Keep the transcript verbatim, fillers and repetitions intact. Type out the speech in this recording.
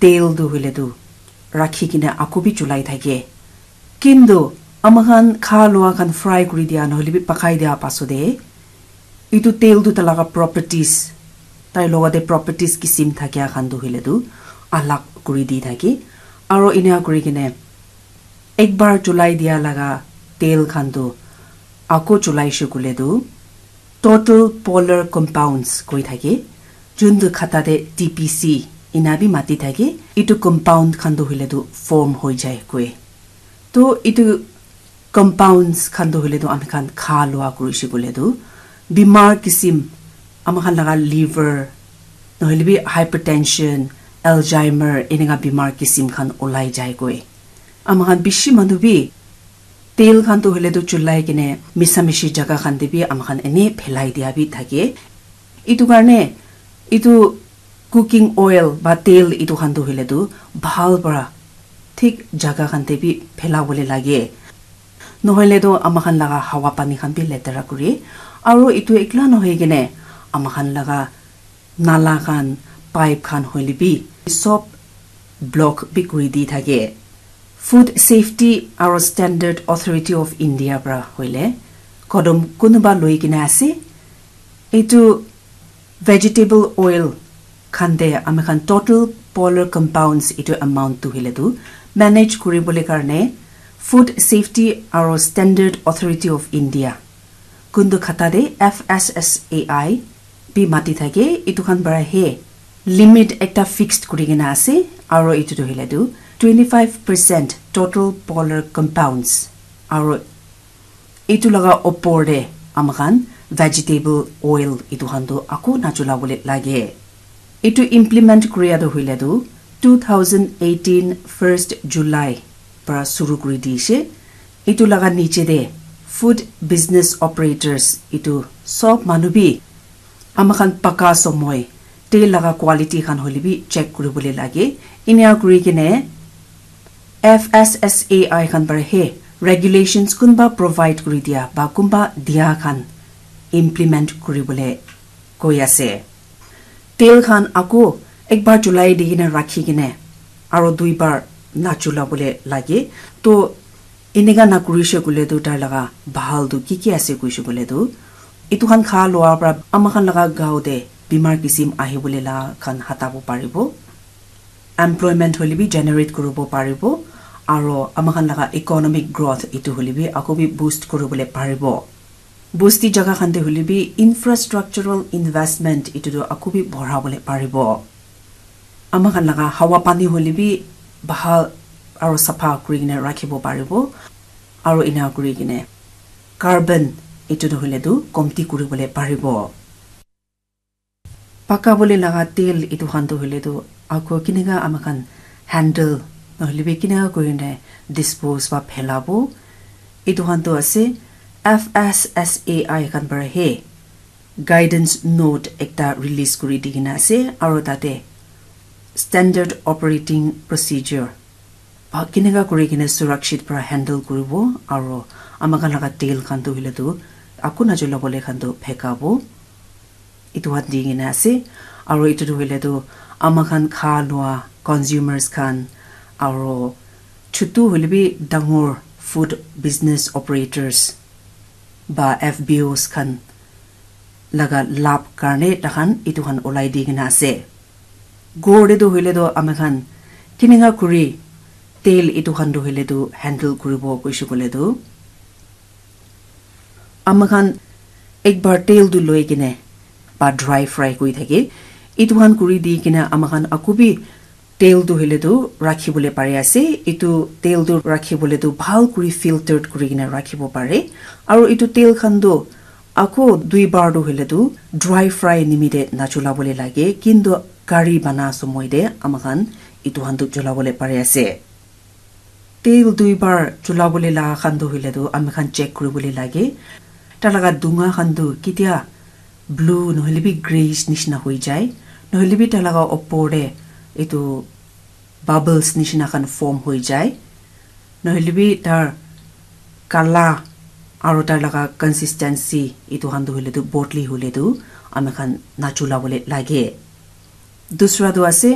tel tu hoile tu rakhi kena aku bi chulai thake. Kintu ama khan kha lua khan fry kuri dia nohole bi pakai dia pasode, itu tel tu talaga properties, tai logote properties kisim thakia khan tu hoile tu alag kuri di thake. Aro ina kuri kene ekbar chulai dia laga tel khan tu ako chulai shukule tu total polar compounds koi thake, juntu khata te T P C ina bi mati thake, itu compound khan tu hoile tu form hoi jai koi. To itu compounds khan tu hoile tu ami khan kha lua kuri shukule tu bimar kisim ama khan laga liver nohole bi hypertension, Alzheimer, eneka bimar kisim khan olai jai koi. Ama khan bishi manu bi tel khan tu hoile tu chulai kene misa mishi jaga khan te bi ama khan ene phelai dia bi thake. Itu karne itu cooking oil ba tel itu khan tu hoile tu bhal para thik jaga khan te bi phela bole lage. Nohole tu ama khan laga hawa pani khan bi letera kuri. Aro itu ekla nohoi kene ama khan laga nala khan, pipe khan hoile bi sob block bi kuri di thake. Food Safety aro Standard Authority of India pra hoile kodom kunuba loi kena ase. Itu vegetable oil khan te ami khan total polar compounds itu amount tu hoile tu manage kuri bole karne Food Safety aro Standard Authority of India kuntu khata te F S S A I bi mati thake, itu khan para he limit ekta fixed kuri kena ase, aro itu tu hoile tu twenty five percent total polar compounds, aro itu laga opor te ama khan vegetable oil itu khan tu aku nachula bole lage. Itu implement kuria tu hoile tu two thousand eighteen first July para suru kuri dishe. Itu laga niche te food business operators itu sob manu bi ama khan paka somoi te laga quality khan hoile bi check kuri bole lage. Inia kuri kene F S S A I khan para he regulations kunba provide kuri dia ba kunba dia khan implement kuri bole koi ase. Tel khan ako ekbar chulai di kene rakhi kene aro duibar nachula bole lage. To eneka nakurishe koile tu tai laga bhal tu ki ki ase koishe koile tu, itu khan kha loa pra ama khan laga gao te bimar kisim ahi bole la khan hatabo paribo. Employment hoile bi generate kuribo paribo, aro ama khan laga economic growth itu hoile bi ako bi boost kuribole paribo. Bosti jaga khan te hoile bi infrastructural investment itu tu aku bi bhora bole paribo. Ama khan laga hawa pani hoile bi bhal aro sapha kuri kene rakhibo paribo, aro ena kuri kene carbon itu tu hoile tu komti kuri bole paribo. Paka bole laga tel itu khan tu hoile tu ako kineka ama khan handle nohole bi kineka kuri kene dispose ba phelabo, itu khan tu ase F S S A I khan para he guidance note ekta release kuri di kena ase, aro tate standard operating procedure ba kineka kuri kene surakshit para handle kuribo, aro ama khan laga tel khan tu hoile tu aku najula bole khan tu phekabo. Itu khan di kena ase, aro itu tu hoile tu ama khan kha loa consumers khan, aro chutu hoile bi dangor food business operators ba F B Os khan laga lab karne takhan itu khan olai di kena ase. Ghor te tu hoile tu ama khan kineka kuri tel itu khan tu hoile tu handle kuribo koishe koile tu ama khan ekbar tel tu loi kene ba dry fry kuri thake. Itu khan kuri di kene ama khan aku bi tel tu hoile tu rakhi bole pari ase. Itu tel tu rakhi bole tu bhal kuri filtered kuri kene rakhibo pare. Aro itu tel khan tu ako dui bar tu hoile tu dry fry nimite nachula bole lage, kintu curry bana somoi te ama khan itu khan tu chula bole pari ase. Tel dui bar chula bole la khan tu hoile tu ami khan check kuri bole lage. Ta laga dunga khan tu kitia blue nohole bi grayish nishina hoi jai, nohole bi ta laga opor te itu bubbles nishina khan form hoi jai, nohole bi tar kala aro tar laga consistency itu khan tu hoile tu bodli hoile tu ami khan nachula bole lage. Dusra tu ase